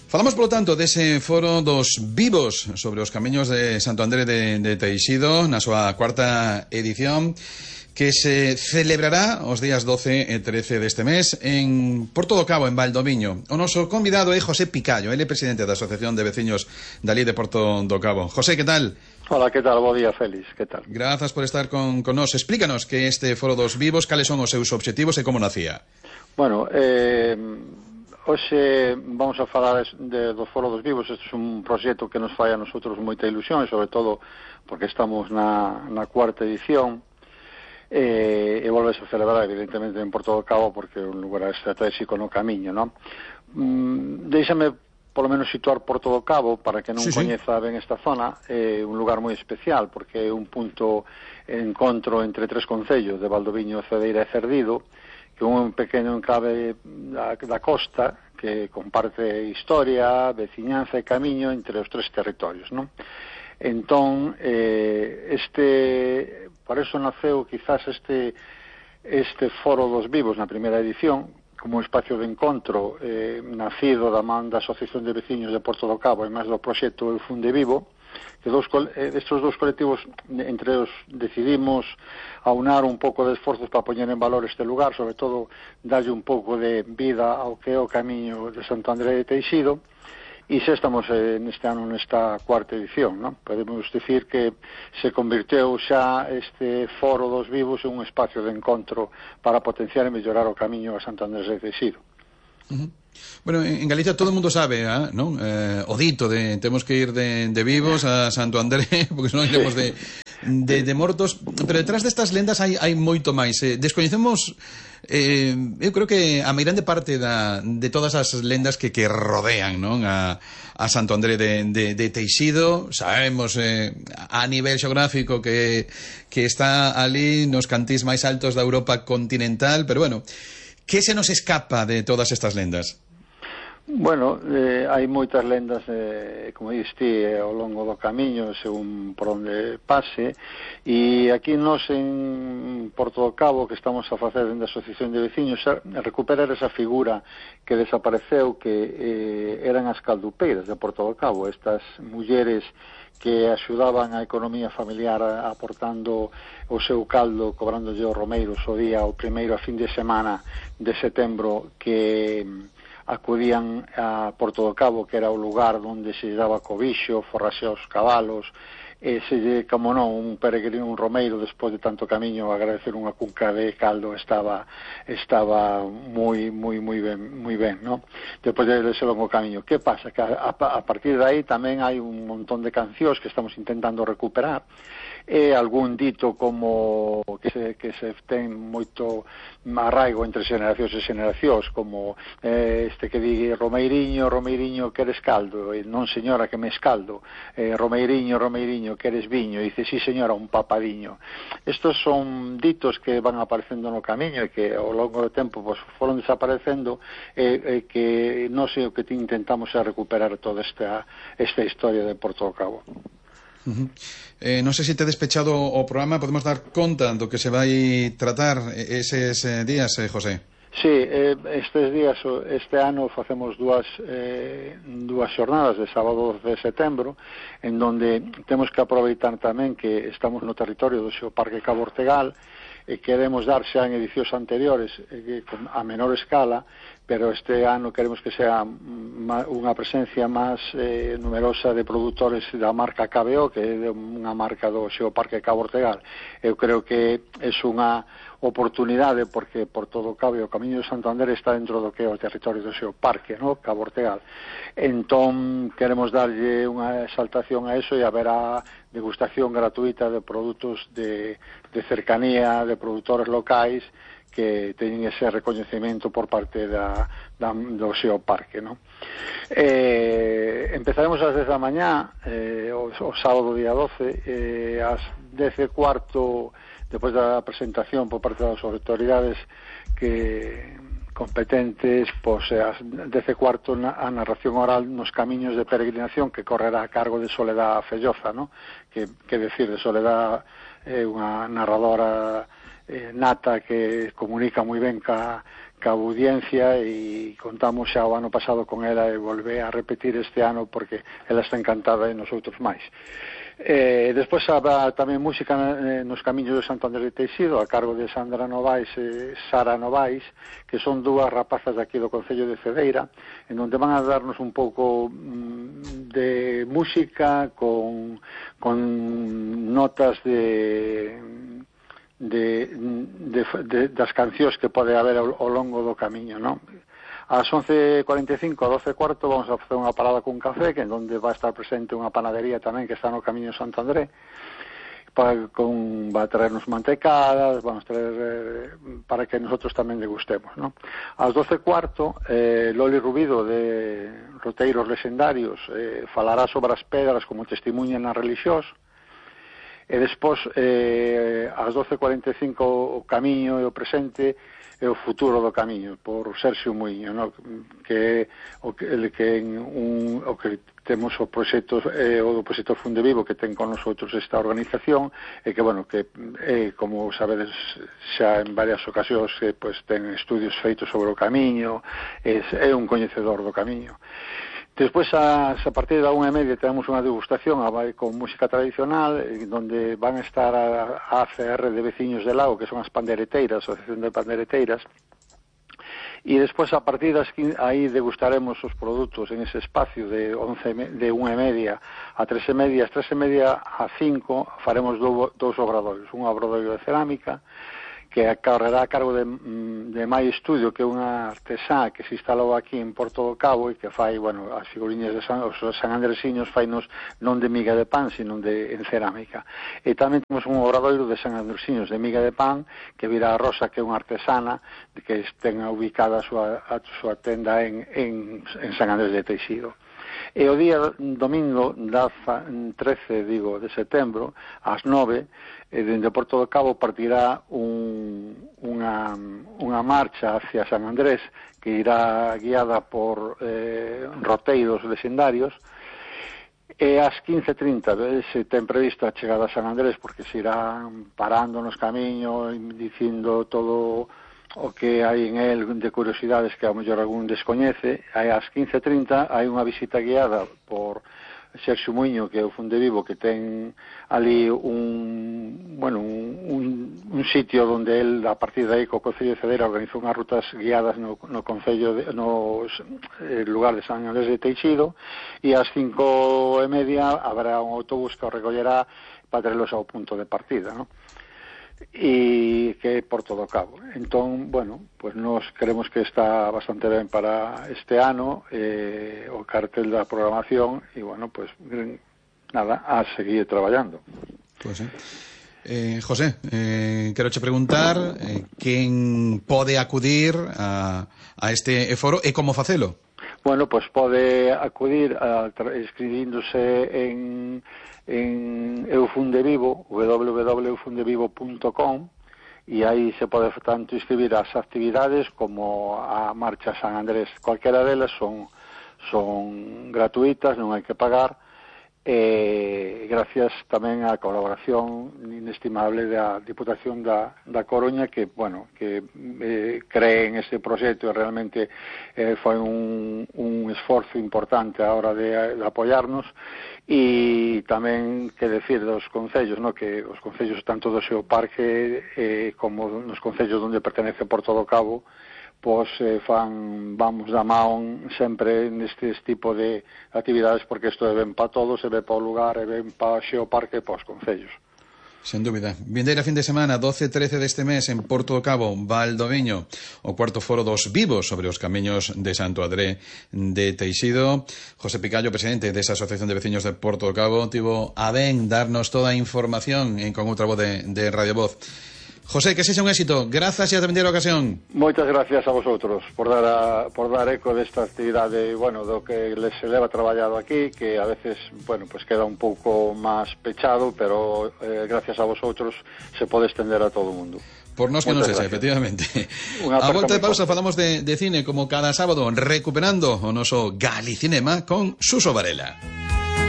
Falamos, polo tanto, dese foro dos vivos sobre os camiños de Santo André de Teixido na súa cuarta edición, que se celebrará os días 12 e 13 deste mes en Porto do Cabo, en Valdoviño. O noso convidado é José Picallo, ele é presidente da Asociación de Veciños dali de Porto do Cabo. José, que tal? Hola, que tal? Bo día, Félix, que tal? Grazas por estar con nos. Explícanos que este foro dos vivos, cales son os seus obxectivos e como nacía. Bueno, hoxe vamos a falar do Foro dos Vivos. Este é un proxecto que nos fai a nosotros moita ilusión, e sobre todo porque estamos na cuarta edición, e volves a celebrar evidentemente en Porto do Cabo porque é un lugar estratégico no camiño, non? Déixame polo menos situar Porto do Cabo para que non coñeza ben esta zona. É un lugar moi especial porque é un punto de encontro entre tres concellos de Valdoviño, Cedeira e Cerdido, que é un pequeno enclave da costa que comparte historia, veciñanza e camiño entre os tres territorios, non? Entón, por eso naceu quizás este Foro dos Vivos na primeira edición como un espacio de encontro nacido da man da Asociación de Veciños de Porto do Cabo e máis do proxecto Eu Funde Vivo, que estes dous colectivos entre os decidimos aunar un pouco de esforzos para poñer en valor este lugar, sobre todo darlle un pouco de vida ao que é o camiño de Santo André de Teixido. E xa estamos neste ano nesta cuarta edición, non? Podemos dicir que se convirteu xa este Foro dos Vivos en un espacio de encontro para potenciar e mellorar o camiño a Santo Andrés de Teixido. Bueno, en Galicia todo o mundo sabe, non? O dito de temos que ir de vivos a Santo André, porque senón iremos de mortos, pero detrás destas lendas hai moito máis. Descoñecemos, eu creo que a meirande parte de todas as lendas que rodean, non? A Santo André de Teixido. Sabemos a nivel xeográfico que está ali nos cantís máis altos da Europa continental, pero bueno, que se nos escapa de todas estas lendas? Bueno, hai moitas lendas, como diste, ao longo do camiño, según por onde pase, e aquí nós en Porto do Cabo, que estamos a facer dentro da Asociación de Veciños, recuperar esa figura que desapareceu, que eran as caldupeiras de Porto do Cabo, estas mulleres que axudaban a economía familiar aportando o seu caldo, cobrándolle os romeiros o día, o primeiro a fin de semana de setembro, que acudían a Porto do Cabo, que era o lugar onde se daba cobixo, forraxe aos cabalos, e se lle, como non, un peregrino, un romeiro, despois de tanto camiño, agradecer unha cunca de caldo estaba moi ben, non? Despois de ese longo camiño. Que pasa? Que a partir de aí tamén hai un montón de cancións que estamos intentando recuperar, e algún dito como que se ten moito arraigo entre xeracións e xeracións, como este que di Romeiriño, Romeiriño, queres caldo? E non, señora, que me escaldo. Romeiriño, Romeiriño, queres viño? E dice, sí, señora, un papadiño. Estos son ditos que van aparecendo no camiño e que ao longo do tempo pues, foron desaparecendo, que non sei o que intentamos é recuperar toda esta historia de Porto do Cabo. Non sei se te despechado o programa, podemos dar conta do que se vai tratar eses días, José? Sí, estes días, este ano facemos dúas xornadas de sábado 12 de setembro, en donde temos que aproveitar tamén que estamos no territorio do Xeoparque Cabo Ortegal, e queremos dar xa en edicións anteriores a menor escala, pero este ano queremos que sea unha presencia máis numerosa de produtores da marca KBO, que é unha marca do Xeoparque Cabo Ortegal. Eu creo que é unha oportunidade porque por todo o Cabo e o Camiño de Santo André está dentro do que é o territorio do Xeoparque, no? Cabo Ortegal. Entón queremos darlle unha exaltación a eso e haberá degustación gratuita de produtos de cercanía, de produtores locais que teñen ese recoñecemento por parte do Xeoparque, no? Empezaremos ás 10 da mañá, o sábado día 12, ás 10:15, despois da presentación por parte das autoridades que competentes, pois ás 10:15 a narración oral nos camiños de peregrinación que correrá a cargo de Soledad Felloza, ¿no? Que decir, de Soledad é unha narradora nata que comunica moi ben ca ca audiencia, e contamos xa o ano pasado con ela e volve a repetir este ano porque ela está encantada e nosotros máis. Despois habrá tamén música nos camiños de Santo Andrés de Teixido a cargo de Sandra Novais e Sara Novais, que son dúas rapazas de aquí do Concello de Cedeira, en onde van a darnos un pouco de música con notas das cancións que pode haber ao longo do camiño, non? Ás 11:45, a 12:15, vamos a facer unha parada con café, que en donde va a estar presente unha panadería tamén que está no camiño de Santo André, va a traernos mantecadas, vamos a traer para que nosotros tamén degustemos, ¿no? Ás 12:15, Loli Rubido, de Roteiros Lexendarios, falará sobre as pedras como testimonio na relixiós, e despois, ás 12:45, o camiño e o presente e o futuro do camiño, por Sergio Muiño, no? que temos o proxecto o do proxecto Funde Vivo que ten con nosotros esta organización, e que, bueno, que como sabedes xa en varias ocasións, pues, ten estudios feitos sobre o camiño, é un coñecedor do camiño. Despois, a partir da 1:30, tenemos unha degustación con música tradicional, donde van a estar a ACR de Veciños de Lago, que son as pandereteiras, a Asociación de Pandereteiras, e despois, a partir das 15, aí degustaremos os produtos en ese espacio de 1:30 a 3:30, as 3:30 a 5 faremos dous obradoiros, un obradoiro de cerámica, que correrá a cargo de Mai Estudio, que é unha artesá que se instalou aquí en Porto do Cabo e que fai, bueno, as figuriñas de os sanandresiños fainos non de miga de pan, sino en cerámica. E tamén temos un obradoiro de sanandresiños de miga de pan, que virá a Rosa, que é unha artesana que ten ubicada a súa tenda en San Andrés de Teixido. E o día domingo, 13 de setembro, ás 9, dende Porto do Cabo partirá unha marcha hacia San Andrés, que irá guiada por roteiros lexendarios, e ás 15:30 se ten previsto a chegada a San Andrés, porque se irán parando nos camiños, dicindo todo o que hai en el de curiosidades que a mellor algún descoñece. Ás 15:30 hai unha visita guiada por Sergio Muiño, que é o Funde Vivo, que ten ali un sitio onde el, a partir de aí, co Concello de Cedeira, organizou unhas rutas guiadas no Concello no lugar de San Andrés de Teixido, e ás 5:30 habrá un autobús que o recollerá para traerlos ao punto de partida, ¿no? E que é Porto do Cabo. Entón, bueno, pues nos creemos que está bastante ben para este ano o cartel da programación, e bueno, pues nada, a seguir traballando. Pues José, quero che preguntar quen pode acudir a este foro e como facelo? Bueno, pues pode acudir inscribíndose en Eufundevivo, www.eufundevivo.com, e aí se pode tanto inscribir as actividades como a Marcha San Andrés. Cualquera delas son gratuitas, non hai que pagar, gracias tamén á colaboración inestimable da Diputación da Coruña, que, bueno, que cree en este proxecto, e realmente foi un esforzo importante a hora de apoiarnos. E tamén que decir dos concellos, ¿no? Que os concellos tanto do seu parque como nos concellos onde pertenece Porto do Cabo, pois vamos da mão sempre nestes tipo de actividades, porque isto é ben para todos, é ben para o lugar, é ben para o xeo parque e para os concellos. Sen dúbida. Vindeira fin de semana, 12-13 deste mes, en Porto do Cabo, Valdoviño, o cuarto foro dos vivos sobre os camiños de Santo André de Teixido. José Picallo, presidente desa Asociación de Veciños de Porto do Cabo, tivo a ben darnos toda a información con outra voz de Radio Voz. José, que sexa un éxito. Grazas e ata vindeira ocasión. Moitas gracias a vosotros por dar eco desta actividade, bueno, do que les se leva traballado aquí, que a veces, bueno, pues queda un pouco máis pechado, pero gracias a vosotros se pode extender a todo o mundo. Por nos que non sexa, efectivamente. A volta de pausa falamos de cine como cada sábado, recuperando o noso Galicinema con Suso Varela.